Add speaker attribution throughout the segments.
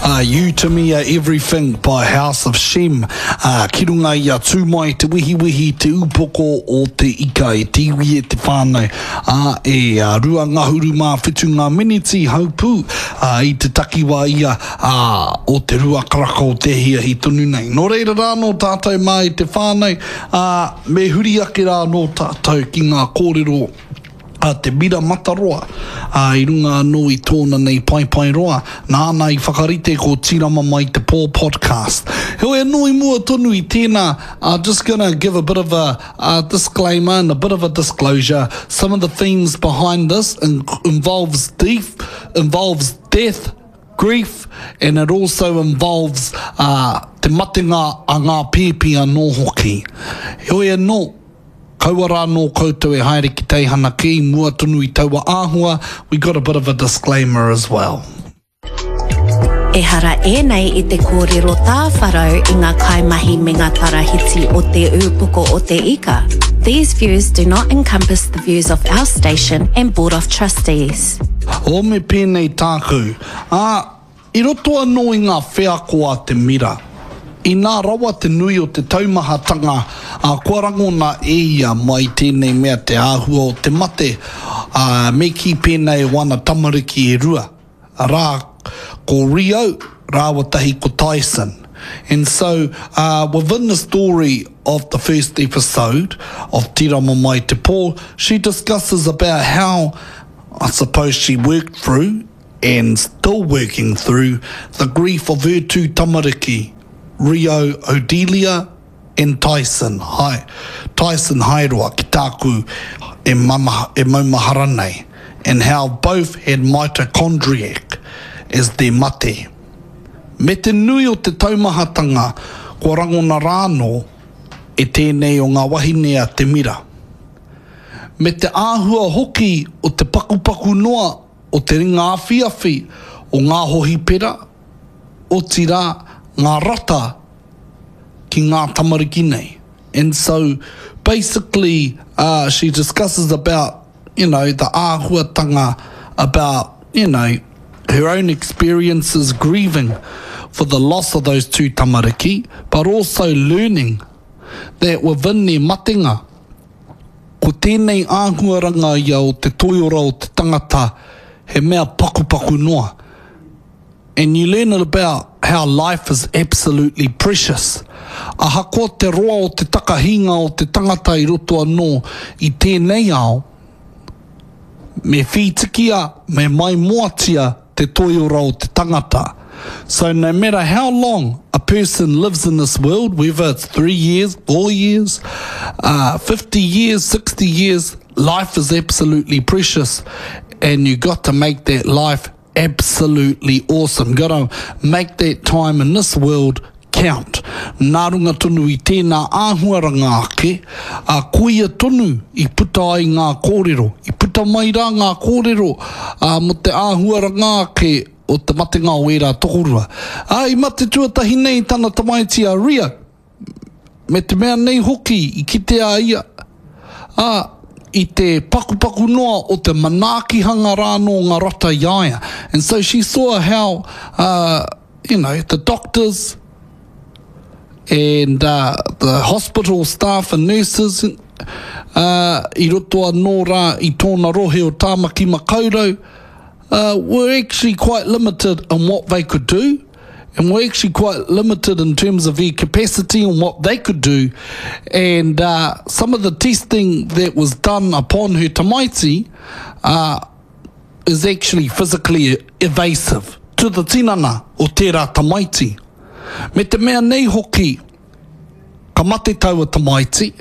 Speaker 1: You To Me Are Everything by House of Shem, ā, ki runga i a Tū Mai Te Wehiwehi, te upoko o te ika e te iwi e te whānau, ā, e 27 ngā miniti haupū, ā, i te takiwā ia, ā, o te rua karaka o te ahiahi tonu nei. Nō reira rā nō tātou mā e te whānau, ā, me huri ake rā nō tātou ki ngā kōrero a Te Mira Mataroa, ā, i runga anō i tōna nei paepaeroa, nāna i whakarite ko Tīrama Mai Te Pō podcast. Heoi anō i mua tonu i tēnā, uh, just gonna give a bit of a uh, disclaimer and a bit of a disclosure. Some of the themes behind this in involves death, involves death, grief, and it also involves uh, te matenga a ngā pēpi anō hoki. Heoi anō, Kaua rā nō koutou e haere ki teihana kē i mua tonu i taua āhua, we got a bit of a disclaimer as well.
Speaker 2: Ehara ēnei i te kōrero tāwharau i ngā kaimahi me ngā tarahiti o Te Ūpoko o Te Ika. These views do not encompass the views of our station and Board of Trustees.
Speaker 1: Oh me pēnei tāku, ā, I roto anō i ngā wheako a te mira, inā rawa te nui o te taumahatanga, ā, kua rangona e ia mai tēnei mea te āhua o te mate, ā, me kī pēnei o ana tamariki e rua, arā, ko Rio rāua tahi ko Tyson. And so, uh, within the story of the first episode of Tirama Mai Te Pō, she discusses about how I suppose she worked through and still working through the grief of her two tamariki, Rio Odelia and Tyson, hai, Tyson Haeroa ki tāku e, mama, e maumahara nei, and how both had mitochondriac as their mate. Me te nui o te taumahatanga kua rangona rānō e tēnei o ngā wahine a Te Mira. Me te āhua hoki o te pakupaku noa o te ringa awhiawhi o ngā hohipera, otirā, ngā rata ki ngā tamariki nei. And so, basically, uh, she discusses about, you know, the āhuatanga about, you know, her own experiences grieving for the loss of those two tamariki, but also learning that within their matenga, Ko tēnei āhuaranga ia o te toiora o te tangata he mea pakupaku noa. And you learn about how life is absolutely precious. Ahakoa te roa o te takahinga o te tangata i roto anō i tēnei ao, me whītikia, me maimoatia te toiora o te tangata. So no matter how long a person lives in this world, whether it's three years, four years, uh, 50 years, 60 years, life is absolutely precious and you got to make that life absolutely awesome. Got to make that time in this world count. Nā runga tonu i tēnā āhuaranga ake, ā, koia tonu i puta ai ngā kōrero. I puta mai rā ngā kōrero, ā, mō te āhuaranga ake o te matenga o ērā tokorua. Ā, i mate tuatahi nei tana tamaiti a Ria, me te mea nei hoki i kitea a ia, ā, i te pakupaku noa o te manaakihanga rānō ngā rata i a ia. And so she saw how, uh, you know, the doctors and uh, the hospital staff and nurses uh, i roto anō rā i tōna rohe o Tāmaki Makaurau uh, were actually quite limited in what they could do and were actually quite limited in terms of their capacity and what they could do. And uh, some of the testing that was done upon her tamaiti uh, is actually physically evasive to the tinana o tērā tamaiti. Me te mea nei hoki, ka mate taua tamaiti,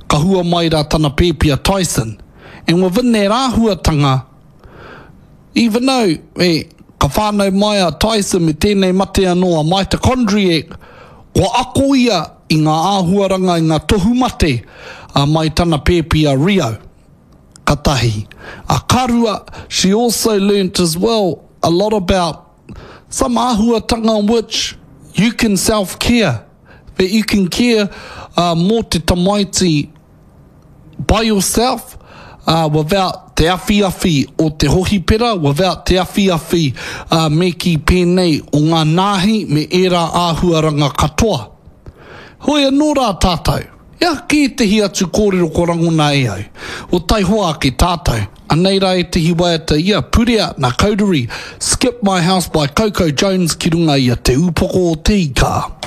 Speaker 1: ka hua mai rā tana pēpi a Tyson. And within that āhuatanga, even though eh, ka whānau mai a Tyson me tēnei mate anō a mitochondriac, kua ako ia i ngā āhuaranga, i ngā tohu mate a mai tana pēpi a Rio. Ka tahi. A ka rua, she also learnt as well a lot about some āhuatanga which you can self-care, that you can care uh, mō te tamaiti by yourself uh, without. te awhiawhi o te hohipera, without te awhiawhi, ā, me kī pēnei, o ngā nāhi me ērā āhuaranga katoa. Hoi anō rā tātou, he aha kē ētehi atu kōrero kua rangona e au? O taihoa ake tātou, anei rā ētehi waiata ia, Purea nā Kaururi, Skip My House by Coco Jones ki runga i a Te Ūpoko o Te Ika.